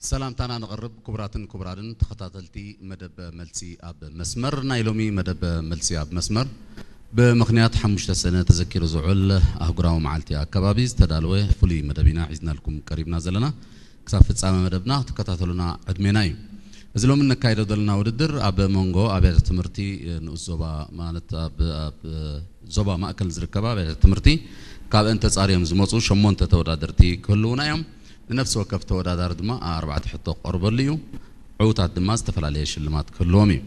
ሰላምታና ነቕርብ። ክቡራትን ክቡራንን ተኸታተልቲ መደብ መልሲ ኣብ መስመር፣ ናይ ሎሚ መደብ መልሲ ኣብ መስመር ብምኽንያት ሓሙሽተ ሰነ ተዘኪሩ ዝውዕል ኣህጉራዊ መዓልቲ ኣከባቢ ዝተዳለወ ፍሉይ መደብ ኢና ሒዝናልኩም ቀሪብና ዘለና። ክሳብ ፍጻመ መደብና ክትከታተሉና ዕድሜና እዩ። እዚ ሎሚ እነካይዶ ዘለና ውድድር ኣብ መንጎ ኣብያተ ትምህርቲ ንኡስ ዞባ፣ ማለት ኣብ፣ ኣብ ዞባ ማእከል ዝርከባ ኣብያተ ትምህርቲ፣ ካብአን ተጻርዮም ዝመጹ ሸሞንተ ተወዳደርቲ ክህልዉና እዮም። ንነፍሲ ወከፍ ተወዳዳሪ ድማ ኣርባዕተ ሕቶ ክቐርበሉ እዩ። ዕዉታት ድማ ዝተፈላለየ ሽልማት ክህልዎም እዩ።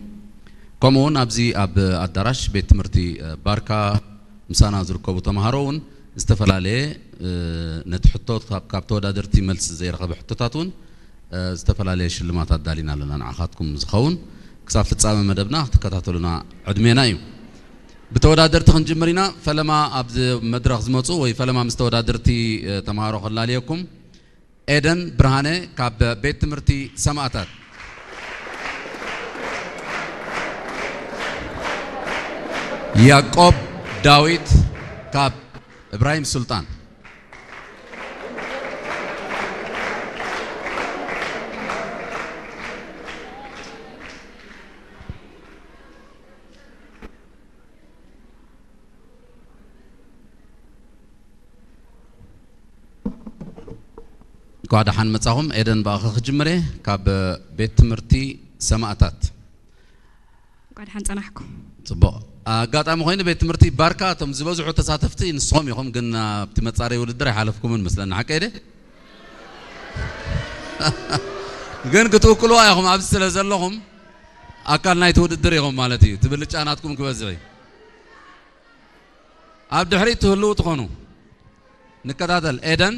ከምኡ እውን ኣብዚ ኣብ ኣዳራሽ ቤት ትምህርቲ ባርካ ምሳና ዝርከቡ ተምሃሮ እውን ዝተፈላለየ፣ እ፣ ነቲ ሕቶ ካብ፣ ካብ ተወዳደርቲ መልሲ ዘይረኸበ ሕቶታት እውን፣ እ፣ ዝተፈላለየ ሽልማት ኣዳሊና ኣለና ንዓኻትኩም ዝኸውን። ክሳብ ፍጻመ መደብና ክትከታተሉና ዕድሜና እዩ። ብተወዳደርቲ ክንጅምር ኢና። ፈለማ ኣብዚ መድረኽ ዝመጹ ወይ ፈለማ ምስ ተወዳደርቲ፣ እ፣ ተምሃሮ ከላልየኩም። ኤደን ብርሃነ ካብ ቤት ትምህርቲ ሰማእታት። ያዕቆብ ዳዊት ካብ እብራሂም ሱልጣን። እንኳዕ ደሓን መጻኹም። ኤደን፣ ብኣኻ ክጅምር እየ፣ ካብ ቤት ትምህርቲ ሰማእታት። እንኳዕ ደሓን ጸናሕኩም። ጽቡቕ። ኣጋጣሚ ኮይኑ ቤት ትምህርቲ ባርካ እቶም ዝበዝሑ ተሳተፍቲ ንስኹም ኢኹም፣ ግን ኣብቲ መጻረዪ ውድድር ኣይሓለፍኩምን መስለኒ፣ ሓቀይ ድየ? ግን ክትውክልዋ ኢኹም፣ ኣብዚ ስለ ዘለኹም ኣካል ናይቲ ውድድር ኢኹም ማለት እዩ። እቲ ብልጫ ናትኩም ክበዝሕ እዩ። ኣብ ድሕሪት ትህልዉ ትኾኑ። ንከታተል። ኤደን፣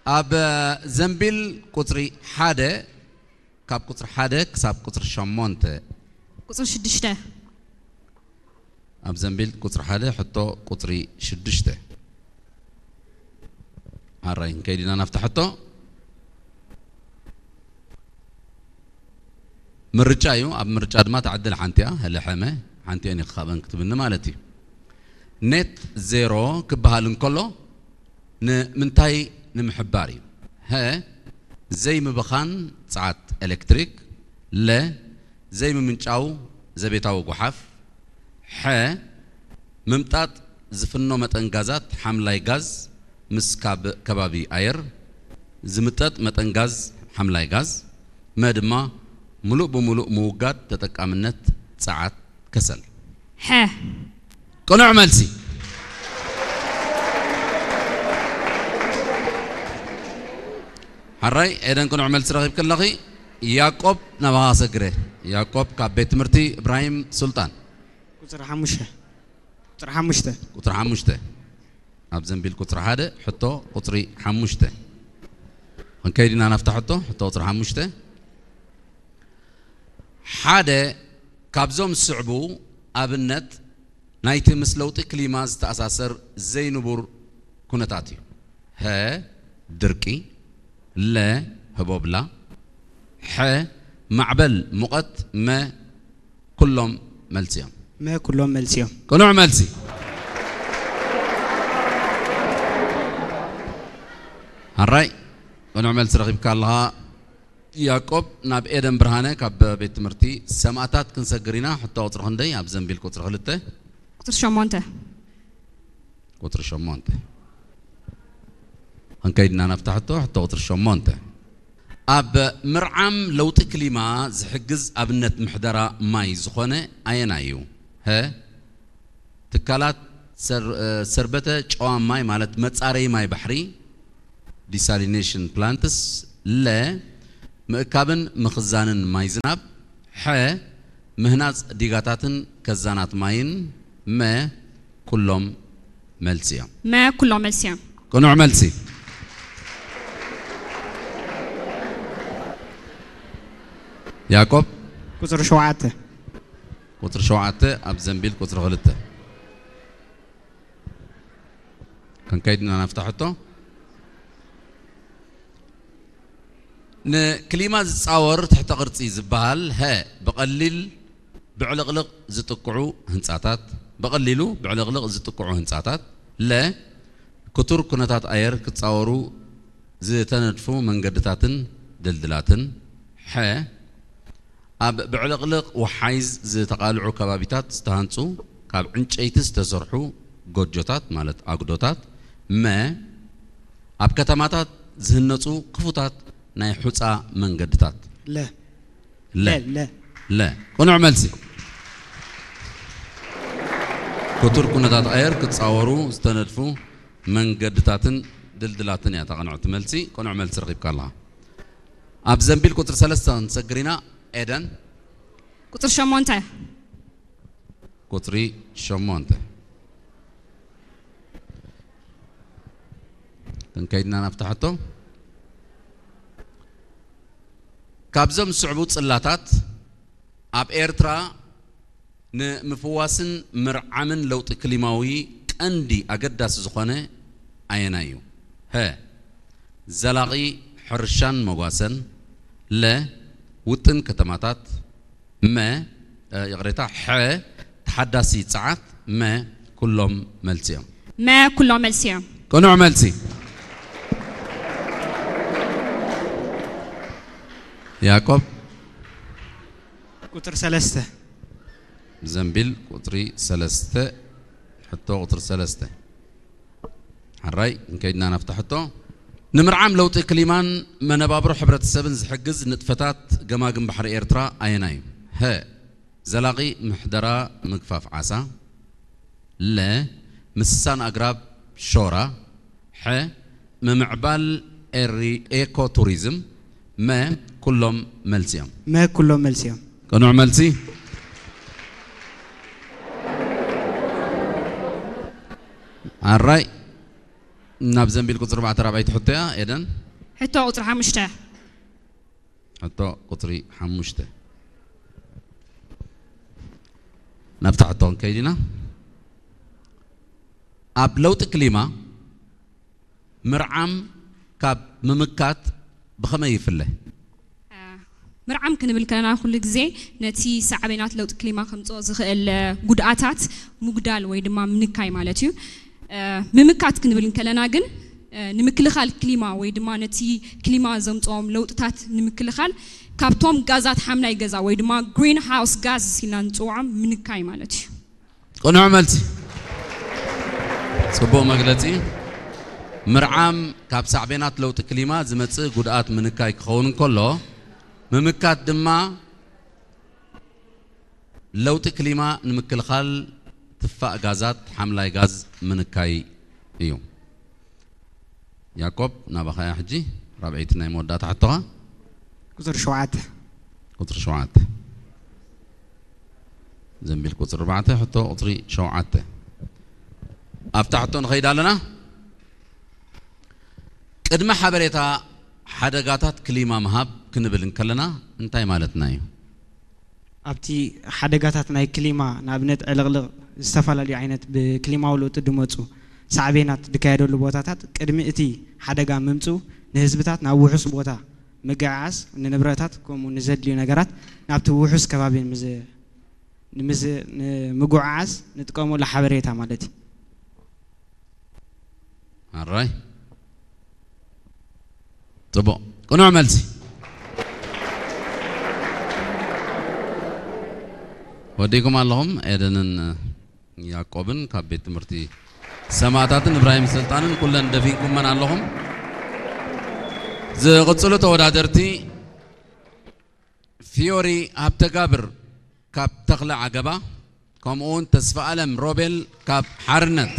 ኣብ ዘንቢል ቁጽሪ ሓደ፣ ካብ ቁጽሪ ሓደ ክሳብ ቁጽሪ ሸሞንተ። ቁጽሪ ሽዱሽተ። ኣብ ዘንቢል ቁጽሪ ሓደ፣ ሕቶ ቁጽሪ ሽዱሽተ። ሓራይ፣ ክንከይድ ኢና ናብታ ሕቶ። ምርጫ እዩ። ኣብ ምርጫ ድማ ትዕድል ሓንቲ እያ። ህለ ሐመ ሓንቲአን እዩ ክኻበን ክትብኒ ማለት እዩ። ኔት ዜሮ ክበሃል እንከሎ ንምንታይ ንምሕባር እዩ? ሀ፣ ዘይምብኻን ጸዓት ኤሌክትሪክ። ለ፣ ዘይምምንጫው ዘቤታዊ ጓሓፍ። ሐ፣ ምምጣጥ ዝፍኖ መጠን ጋዛት ሓምላይ ጋዝ ምስ ካብ ከባቢ ኣየር ዝምጠጥ መጠን ጋዝ ሓምላይ ጋዝ። መ ድማ ምሉእ ብምሉእ ምውጋድ ተጠቃምነት ጸዓት ከሰል። ሐ። ቅኑዕ መልሲ። ሓራይ ኤደን፣ ቅኑዕ መልሲ ረኺብኪ ኣለኺ። ያዕቆብ፣ ናባኻ ሰግረ። ያዕቆብ ካብ ቤት ትምህርቲ እብራሂም ሱልጣን። ቁጽሪ ሓሙሽተ። ቁጽሪ ሓሙሽተ። ቁጽሪ ሓሙሽተ። ኣብ ዘንቢል ቁጽሪ ሓደ፣ ሕቶ ቁጽሪ ሓሙሽተ። ክንከይድ ኢና ናብታ ሕቶ፣ ሕቶ ቁጽሪ ሓሙሽተ። ሓደ ካብዞም ዝስዕቡ ኣብነት ናይቲ ምስ ለውጢ ክሊማ ዝተኣሳሰር ዘይንቡር ኩነታት እዩ። ሀ፣ ድርቂ። ለ፣ ህቦብላ። ሐ፣ ማዕበል ሙቐት። መ፣ ኩሎም መልሲ እዮም። መ፣ ኩሎም መልሲ እዮም። ቅኑዕ መልሲ። ሓራይ፣ ቅኑዕ መልሲ ረኺብካ ኣለኻ። ያዕቆብ፣ ናብ ኤደን ብርሃነ ካብ ቤት ትምህርቲ ሰማእታት ክንሰግር ኢና። ሕቶ ቁጽሪ ክንደይ ኣብ ዘንቢል ቁጽሪ ክልተ? ቁጽሪ ሸሞንተ። ቁጽሪ ሸሞንተ። ክንከይድ ኢና ናብታ ሕቶ፣ ሕቶ ቁጽሪ ሸሞንተ። ኣብ ምርዓም ለውጢ ክሊማ ዝሕግዝ ኣብነት ምሕደራ ማይ ዝኾነ ኣየናይ እዩ? ሀ፣ ትካላት ሰር-፣ ሰርበተ ጨዋ ማይ ማለት መጻረዪ ማይ ባሕሪ፣ ዲሳሊኔሽን ፕላንትስ። ለ፣ ምእካብን ምኽዛንን ማይ ዝናብ። ሐ፣ ምህናጽ ዲጋታትን ከዛናት ማይን። መ፣ ኩሎም መልሲ እዮም። መ፣ ኩሎም መልሲ እዮም። ቅኑዕ መልሲ። ያዕቆብ? ቁጽሪ ሸውዓተ። ቁጽሪ ሸውዓተ ኣብ ዘንቢል ቁጽሪ ክልተ። ክንከይድ ኢና ናብታ ሕቶ። ንክሊማ ዝጻወር ትሕተ ቅርጺ ዝበሃል፣ ሀ፣ ብቐሊል ብዕልቕልቕ ዝጥቅዑ ህንጻታት፣ ብቐሊሉ ብዕልቕልቕ ዝጥቅዑ ህንጻታት። ለ፣ ክቱር ኩነታት ኣየር ክጻወሩ ዝተነድፉ መንገድታትን ድልድላትን፣ ሐ፣ ኣብ ብዕልቕልቕ ወሓይዝ ዝተቓልዑ ከባቢታት ዝተሃንጹ ካብ ዕንጨይቲ ዝተሰርሑ ጎጆታት ማለት ኣጉዶታት፣ መ፣ ኣብ ከተማታት ዝህነጹ ክፉታት ናይ ሑጻ መንገድታት። ለ። ለ። ለ፣ ለ። ለ። ቅኑዕ መልሲ። ክቱር ኩነታት ኣየር ክጻወሩ ዝተነድፉ መንገድታትን ድልድላትን እያ እታ ቅንዕቲ መልሲ። ቅኑዕ መልሲ ረኺብካ ኣለኻ። ኣብ ዘንቢል ቁጽሪ ሰለስተ ክንሰግር ኢና። ኤደን። ቁጽሪ ሸሞንተ። ቁጽሪ ሸሞንተ። ክንከይድና ናብታ ሕቶ። ካብዞም ዝስዕቡ ጽላታት ኣብ ኤርትራ ንምፍዋስን ምርዓምን ለውጢ ክሊማዊ ቀንዲ ኣገዳሲ ዝኾነ ኣየናይ እዩ? ሀ፣ ዘላቒ ሕርሻን መጓሰን፣ ለ፣ ውጥን ከተማታት፣ መ፣ እ፣ ይቕሬታ፣ ሐ፣ ተሓዳሲ ጸዓት፣ መ፣ ኩሎም መልሲ እዮም። መ ኩሎም መልሲ እዮም። ቅኑዕ መልሲ። ያዕቆብ። ቁጽሪ ሰለስተ። ዘንቢል ቁጽሪ ሰለስተ፣ ሕቶ ቁጽሪ ሰለስተ። ሕራይ፣ እንከይድና ናብታ ሕቶ። ንምርዓም ለውጢ ክሊማን መነባብሮ ሕብረተሰብን ዝሕግዝ ንጥፈታት ገማግም ባሕሪ ኤርትራ ኣየናይ እዩ? ሀ፣ ዘላቒ ምሕደራ ምግፋፍ ዓሳ፣ ለ፣ ምስሳን ኣግራብ ሾራ፣ ሐ፣ ምምዕባል ኤሪ-፣ ኤኮ ቱሪዝም፣ መ፣ ኩሎም መልሲ እዮም። መ፣ ኩሎም መልሲ እዮም። ቅኑዕ መልሲ። ኣራይ፣ ናብ ዘንቢል ቁጽሪ ኣርባዕተ ራብዐይቲ ሕቶ እያ። ኤደን። ሕቶ ቁጽሪ ሓሙሽተ። ሕቶ ቁጽሪ ሓሙሽተ። ናብታ ሕቶ ክንከይድ ኢና። ኣብ ለውጢ ክሊማ ምርዓም ካብ ምምካት ብኸመይ ይፍለ? አ፣ ምርዓም ክንብል ከለና ኩሉ ግዜ ነቲ ሳዕቤናት ለውጢ ክሊማ ከምጽኦ ዝኽእል፣ እ፣ ጉድኣታት ምጉዳል ወይ ድማ ምንካይ ማለት እዩ። እ፣ ምምካት ክንብል እንከለና ግን፣ እ፣ ንምክልኻል ክሊማ ወይ ድማ ነቲ ክሊማ ዘምጽኦም ለውጥታት ንምክልኻል ካብቶም ጋዛት ሓምላይ ገዛ ወይ ድማ ግሪን ሃውስ ጋዝ ኢልና ንጽውዖም ምንካይ ማለት እዩ። ቅኑዕ መልሲ። ጽቡቕ መግለጺ። ምርዓም ካብ ሳዕቤናት ለውጢ ክሊማ ዝመጽእ ጉድኣት ምንካይ ክኸውን እንከሎ፣ ምምካት ድማ ለውጢ ክሊማ ንምክልኻል ትፋእ ጋዛት ሓምላይ ጋዝ ምንካይ እዩ። ያዕቆብ፣ ናባኻ እያ ሕጂ ራብዐይቲ ናይ መወዳእታ ሕቶኻ። ቁጽሪ ሸውዓተ። ቁጽሪ ሸውዓተ። ዘንቢል ቁጽሪ ኣርባዕተ፣ ሕቶ ቁጽሪ ሸውዓተ። ኣብታ ሕቶ ንኸይድ ኣለና። ቅድመ ሓበሬታ ሓደጋታት ክሊማ ምሃብ ክንብል እንከለና እንታይ ማለትና እዩ? ኣብቲ ሓደጋታት ናይ ክሊማ፣ ንኣብነት ዕልቕልቕ፣ ዝተፈላለዩ ዓይነት ብክሊማዊ ለውጢ ዝመፁ ሳዕቤናት ዝካየደሉ ቦታታት ቅድሚ እቲ ሓደጋ ምምፅኡ ንህዝብታት ናብ ውሑስ ቦታ ምግዕዓዝ፣ ንንብረታት ከምኡ ንዘድልዩ ነገራት ናብቲ ውሑስ ከባቢ ንምዝ-፣ ንምዝ-፣ ንምጉዕዓዝ ንጥቀመሉ ሓበሬታ ማለት እዩ። ኣራይ። ጽቡቕ። ቅኑዕ መልሲ። ወዲእኩም ኣለኹም። ኤደንን ያዕቆብን ካብ ቤት ትምህርቲ ሰማእታትን እብራሂም ስልጣንን ኩለን ደፊንኩመን ኣለኹም። ዝቕጽሉ ተወዳደርቲ ፊዮሪ ሃብተጋብር ካብ ተኽለ ዓገባ፣ ከምኡውን ተስፋ ኣለም ሮቤል ካብ ሓርነት።